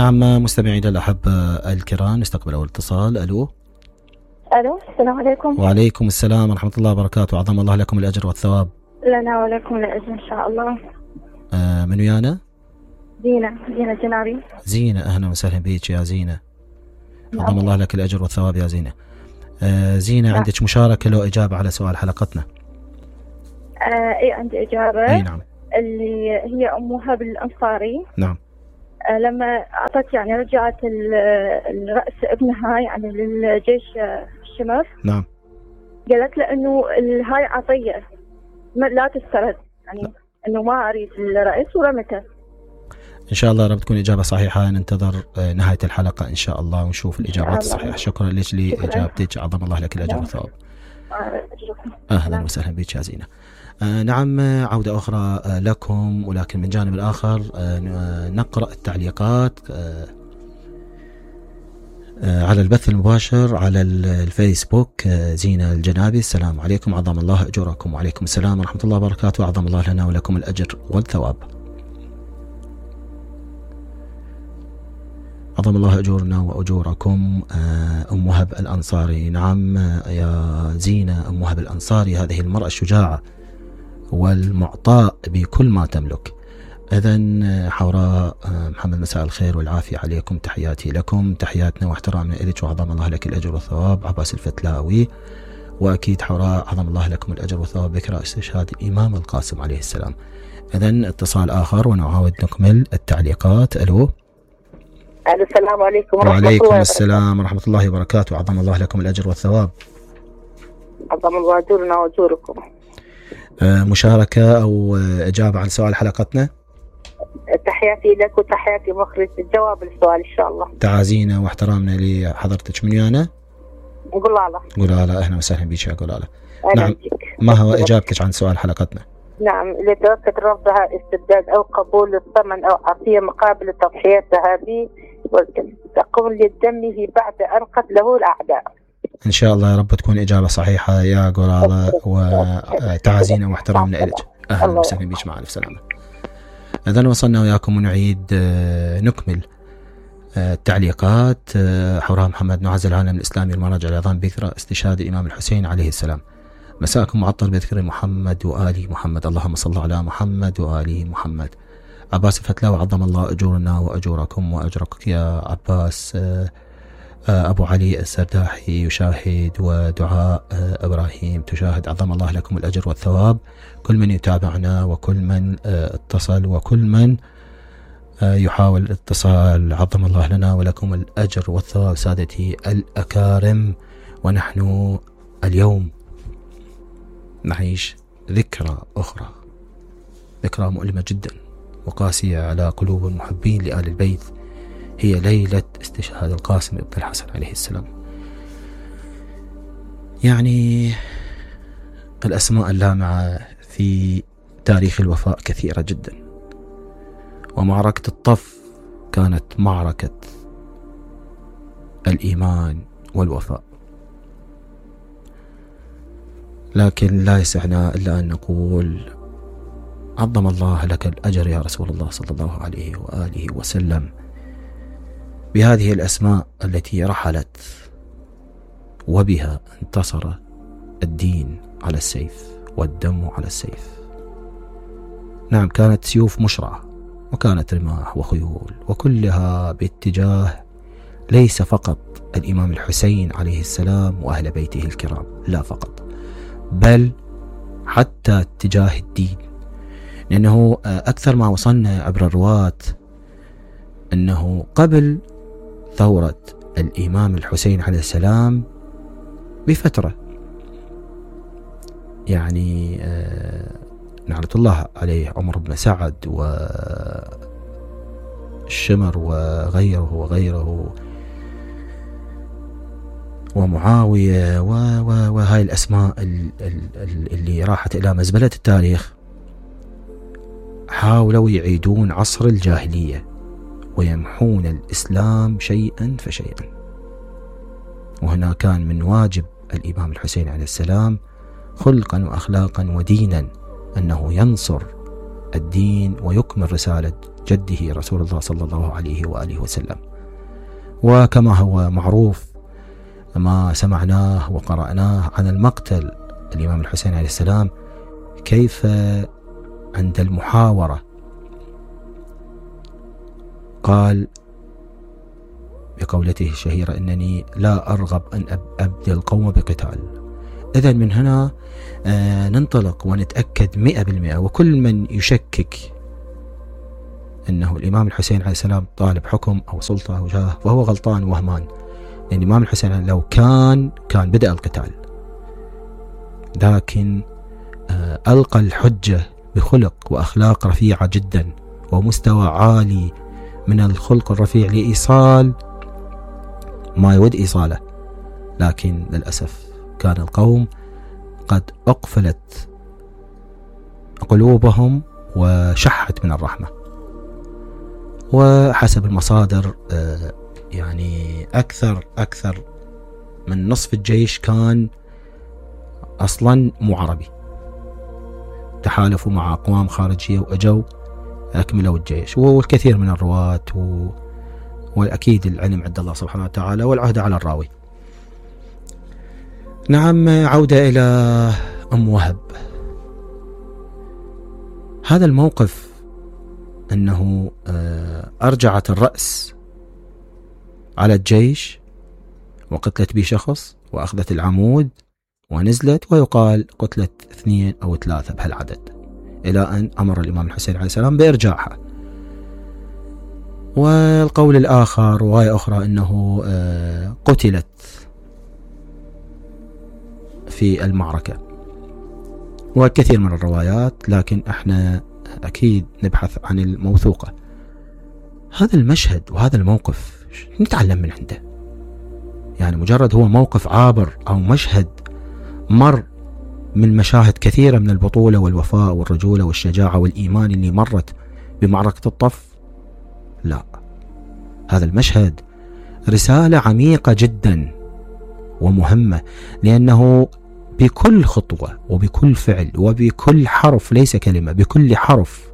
نعم مستمعينا الأحبة الكرام، نستقبل أول اتصال. ألو السلام عليكم. وعليكم السلام ورحمة الله وبركاته، عظم الله لكم الأجر والثواب. لنا ولكم الأجر إن شاء الله. من ويانا؟ زينة جنابي. زينة، أهلا وسهلا بك يا زينة. عظم الله لك الأجر والثواب يا زينة. زينة، عندك مشاركة لو إجابة على سؤال حلقتنا؟ إيه عندي إجابة. أي نعم. اللي هي أم وهب الأنصاري. نعم. لما أعطت يعني رجعت الرأس ابنها يعني للجيش الشمر. نعم. قالت له إنه هاي عطية لا تسترد، يعني إنه ما أريد الرأس ورمته. إن شاء الله رب تكون إجابة صحيحة. ننتظر نهاية الحلقة إن شاء الله ونشوف الإجابات الصحيحة. شكرا لك لإجابتك، عظم الله لك الأجر والثواب. أهلا وسهلا بك يا زينة. نعم، عودة أخرى لكم، ولكن من جانب الآخر نقرأ التعليقات على البث المباشر على الفيسبوك. زينة الجنابي، السلام عليكم، عظم الله أجوركم. وعليكم السلام ورحمة الله وبركاته، عظم الله لنا ولكم الأجر والثواب. عظم الله أجورنا وأجوركم. أم وهب الأنصاري، نعم يا زينة، أم وهب الأنصاري هذه المرأة الشجاعة والمعطاء بكل ما تملك. إذن حوراء محمد، مساء الخير والعافية عليكم، تحياتي لكم، تحياتنا واحترامنا إليك، وعظم الله لك الأجر والثواب. عباس الفتلاوي، وأكيد حوراء عظم الله لكم الأجر والثواب ذكرى استشهاد الإمام القاسم عليه السلام. إذن اتصال آخر ونعاود نكمل التعليقات. ألو. السلام عليكم ورحمة الله. وعليكم السلام ورحمة الله وبركاته، عظم الله لكم الأجر والثواب. عظم الله أجورنا وأجوركم. مشاركة أو إجابة عن سؤال حلقتنا؟ تحياتي لك وتحياتي مخرج الجواب للسؤال إن شاء الله. تعازينا واحترامنا لحضرتك. من ويانا؟ قلالة. أهلا وسهلا بك يا قلالة. نعم، ما هو إجابتك عن سؤال حلقتنا؟ نعم، اللي توقت رفضها استبداد أو قبول الثمن أو عطية مقابل التضحيات هذه وتقوم لدمه بعد أن قتله الأعداء. إن شاء الله يا رب تكون إجابة صحيحة يا قلالة، وتعازينا واحترامنا إليك. أهلا وسهلا بك، مع ألف سلامة. إذن وصلنا وياكم ونعيد نكمل التعليقات. حوراء محمد، نعز العالم الإسلامي والمراجع العظام بذكرى استشهاد الإمام الحسين عليه السلام. مساءكم معطر بذكر محمد وآل محمد، اللهم صل على محمد وآل محمد. عباس الفتلاوي، عظم الله أجورنا وأجوركم وأجرك يا عباس. أبو علي السرداحي يشاهد، ودعاء إبراهيم تشاهد، عظم الله لكم الأجر والثواب. كل من يتابعنا وكل من اتصل وكل من يحاول الاتصال، عظم الله لنا ولكم الأجر والثواب سادتي الأكارم. ونحن اليوم نعيش ذكرى أخرى، ذكرى مؤلمة جدا وقاسية على قلوب المحبين لآل البيت، هي ليلة استشهاد القاسم ابن الحسن عليه السلام. يعني الأسماء اللامعة في تاريخ الوفاء كثيرة جدا، ومعركة الطف كانت معركة الإيمان والوفاء. لكن لا يسعنا إلا أن نقول عظم الله لك الأجر يا رسول الله صلى الله عليه وآله وسلم بهذه الأسماء التي رحلت وبها انتصر الدين على السيف والدم على السيف. نعم، كانت سيوف مشرعة وكانت رماح وخيول، وكلها باتجاه ليس فقط الإمام الحسين عليه السلام وأهل بيته الكرام، لا فقط، بل حتى اتجاه الدين. لأنه أكثر ما وصلنا عبر الرواة أنه قبل ثورة الإمام الحسين عليه السلام بفترة، يعني نعمة الله عليه عمر بن سعد والشمر وغيره ومعاوية وهاي الأسماء اللي راحت إلى مزبلة التاريخ، حاولوا يعيدون عصر الجاهلية ويمحون الإسلام شيئا فشيئا. وهنا كان من واجب الإمام الحسين عليه السلام خلقا وأخلاقا ودينا أنه ينصر الدين ويكمل رسالة جده رسول الله صلى الله عليه وآله وسلم. وكما هو معروف ما سمعناه وقرأناه عن المقتل الإمام الحسين عليه السلام، كيف عند المحاورة قال بقولته الشهيرة: إنني لا أرغب أن أبدي القوم بقتال. إذن من هنا ننطلق ونتأكد 100%، وكل من يشكك أنه الإمام الحسين عليه السلام طالب حكم أو سلطة أو جاه فهو غلطان وهمان، لأن الإمام الحسين لو كان بدأ القتال، لكن ألقى الحجة بخلق وأخلاق رفيعة جدا ومستوى عالي من الخلق الرفيع لإيصال ما يود إيصاله. لكن للأسف كان القوم قد أقفلت قلوبهم وشحت من الرحمة. وحسب المصادر يعني أكثر من نصف الجيش كان أصلا مو عربي، تحالفوا مع أقوام خارجية وأجوا أكملوا الجيش. والكثير من الرواة والأكيد العلم عند الله سبحانه وتعالى والعهد على الراوي. نعم، عودة إلى أم وهب. هذا الموقف أنه أرجعت الرأس على الجيش وقتلت به شخص وأخذت العمود ونزلت، ويقال قتلت 2 أو 3 بهالعدد، إلى أن أمر الإمام الحسين عليه السلام بإرجاعها. والقول الآخر رواية أخرى أنه قتلت في المعركة، والكثير من الروايات، لكن احنا أكيد نبحث عن الموثوقة. هذا المشهد وهذا الموقف نتعلم من عنده، يعني مجرد هو موقف عابر أو مشهد مر من مشاهد كثيرة من البطولة والوفاء والرجولة والشجاعة والإيمان اللي مرت بمعركة الطف. لا، هذا المشهد رسالة عميقة جدا ومهمة، لأنه بكل خطوة وبكل فعل وبكل حرف، ليس كلمة، بكل حرف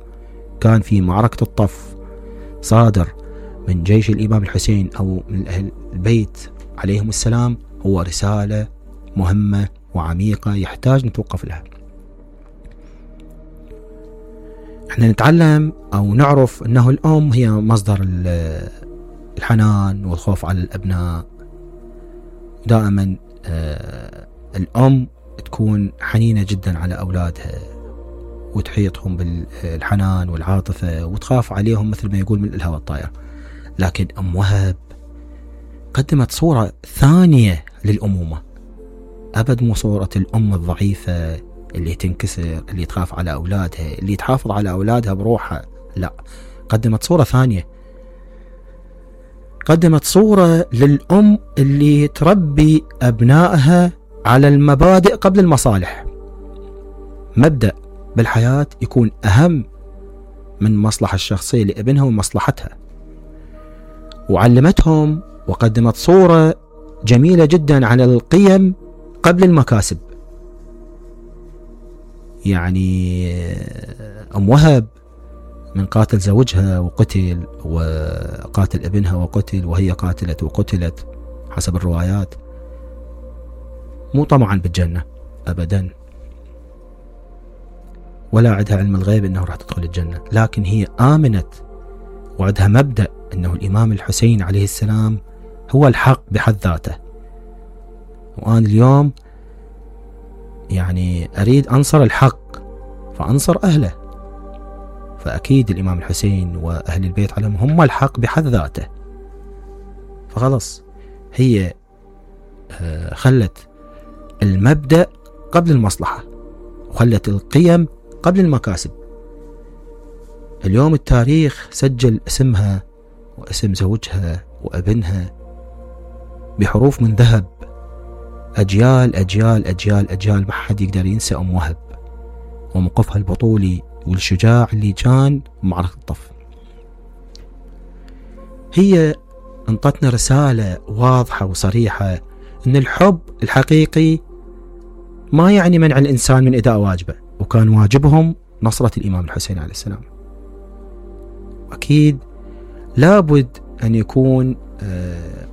كان في معركة الطف صادر من جيش الإمام الحسين أو من أهل البيت عليهم السلام هو رسالة مهمة وعميقة يحتاج نتوقف لها. احنا نتعلم أو نعرف أنه الأم هي مصدر الحنان والخوف على الأبناء. دائما الأم تكون حنينة جدا على أولادها وتحيطهم بالحنان والعاطفة وتخاف عليهم مثل ما يقول من الهوى الطائر. لكن أم وهب قدمت صورة ثانية للأمومة، أبد مو صورة الأم الضعيفة اللي تنكسر، اللي تخاف على أولادها، اللي تحافظ على أولادها بروحها. لا، قدمت صورة ثانية، قدمت صورة للأم اللي تربي أبنائها على المبادئ قبل المصالح. مبدأ بالحياة يكون أهم من مصلحة الشخصية لابنها ومصلحتها، وعلمتهم وقدمت صورة جميلة جدا عن القيم قبل المكاسب. يعني أم وهب من قاتل زوجها وقتل، وقاتل ابنها وقتل، وهي قاتلت وقتلت حسب الروايات، مو طمعا بالجنة أبدا، ولا عندها علم الغيب أنه راح تدخل الجنة، لكن هي آمنت وعندها مبدأ أنه الإمام الحسين عليه السلام هو الحق بحد ذاته. وأنا اليوم يعني أريد أنصر الحق فأنصر أهله، فأكيد الإمام الحسين وأهل البيت عليهم هم الحق بحد ذاته. فخلص هي خلت المبدأ قبل المصلحة وخلت القيم قبل المكاسب. اليوم التاريخ سجل اسمها واسم زوجها وابنها بحروف من ذهب، أجيال أجيال أجيال أجيال، ما حد يقدر ينسى أم وهب وموقفها البطولي والشجاع اللي كان بمعركة الطف. هي انطتنا رسالة واضحة وصريحة أن الحب الحقيقي ما يعني منع الإنسان من إداء واجبه، وكان واجبهم نصرة الإمام الحسين عليه السلام. أكيد لابد أن يكون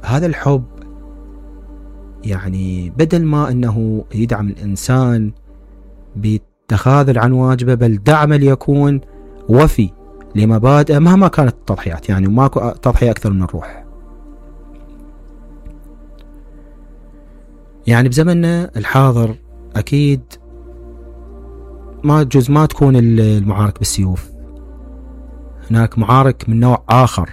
هذا الحب يعني بدل ما أنه يدعم الإنسان بالتخاذل عن واجبه، بل دعم ليكون وفي لمبادئ مهما كانت التضحيات. يعني ماكو تضحية أكثر من الروح. يعني بزمننا الحاضر أكيد ما تكون المعارك بالسيوف، هناك معارك من نوع آخر